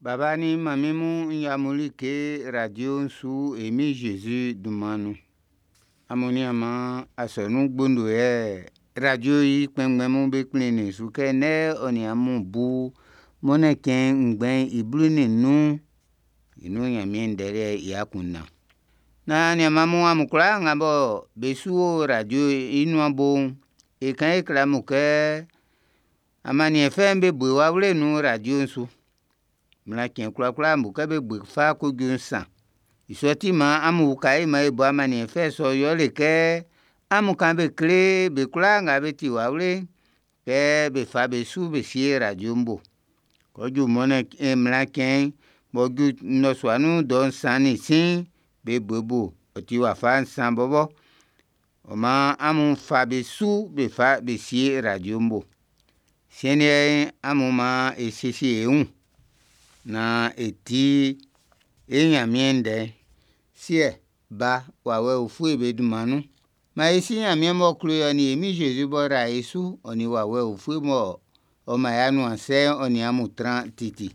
Baba nin manmin mun, n ya amun like radio'n su e Min Jésus dunman nun. Amun nianman asɔnun gbondo yɛ radio i kpɛnngbɛn mun be kplinnin su kɛ ndɛ ɔ nin amun bu mɔnnɛn cɛn ngbɛn i 15 i nun Nyanmiɛn ndɛ liɛ'n i akunndan. Naan aniaanman mun amun kwlaa nga bɔ be su o radio i nuan bo'n, e kan e kle amun kɛ amanniɛn fɛ'n be bo wawle nun radio'n su. Mlan cɛn kwlakwla mun kɛ be bo fa ko ju nsan. I sɔ ti maan amun uka e man e bo amanniɛn fɛ sɔ'n yɛle kɛ amun kan be kle be kwlaa nga be ti wawle'n kɛ be fa be su be sie radio'n bo. Kɛ ɔ ju mɔnnɛn mlan cɛn'n b'ɔ ju nnɔsua nun dɔ 3:15, be bo i bo, ɔ ti wafa nsan bɔbɔ. Ɔ maan amun fa be su be fa be sie radio'n bo. Siɛn liɛ'n, amun maan e siesie e wun naan e ti e Ɲanmiɛn ndɛ'n. Siɛ, Ba, Wawɛ Ufue be dunman nun. Maan e si Ɲanmiɛn m'ɔ klo e ɔ nin e Min Zezi m'ɔ yra e su, ɔ nin Wawɛ Ufue m'ɔ man e anuansɛ'n ɔ nin amun tran titi.